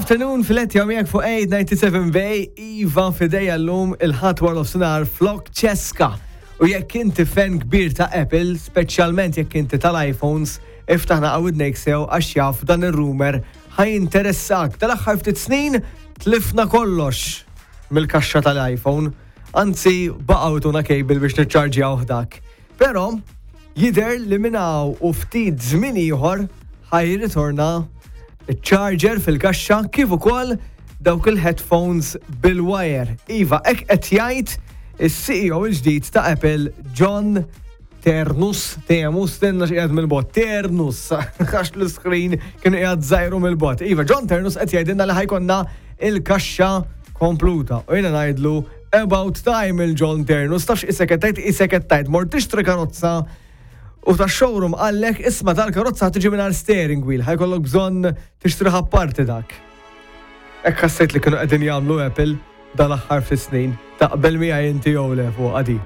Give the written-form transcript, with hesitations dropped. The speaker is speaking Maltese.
afternoon, filet miegħek fuq 897 Bay, Iva fidejja llum il-Ħadd wara nofsinhar flok ċeska. U jekk inti fan kbir ta' Apple, speċjalment jekk inti tal-iPhones, iftaħ naqa' widnejk sew għax jaf dan ir-rumor ħa jinteressak. Tal-aħħar ftit snin tlifna kollox mill-kaxxa tal-iPhone. Anzi, baqgħu tuna cable biex niċċarġjaw dak. Però jidher li minn hawn u ftit żmien ieħor ħa jirritorna ċ-charger fil-kaxxa kif ukoll dawk il-headphones bil-wire. Iva, hekk qed jgħid is-CEO il-ġdid ta' Apple, John Ternus, Temus, tenna xi mill-bot, Ternus, għax l-screen kien qiegħed żgħiru mill-bot. Iva, John Ternus qed jgħidilna li ħa jkollna il-kaxxa kompluta. U jiena ngħidlu about time il-John Ternus, tafx isek qed tgħid, isek qed tgħid, mort tixtri karozza u ta' showroom qallek isma' tal-karozza tiġi mingħajr steering wheel, ħa jkollok bżonn tixtri apparti dak. Hekk ħassejt li kienu qegħdin jagħmlu Apple dal-aħħar ftit snin. Taqbel miegħi inti jew le fuq għadi.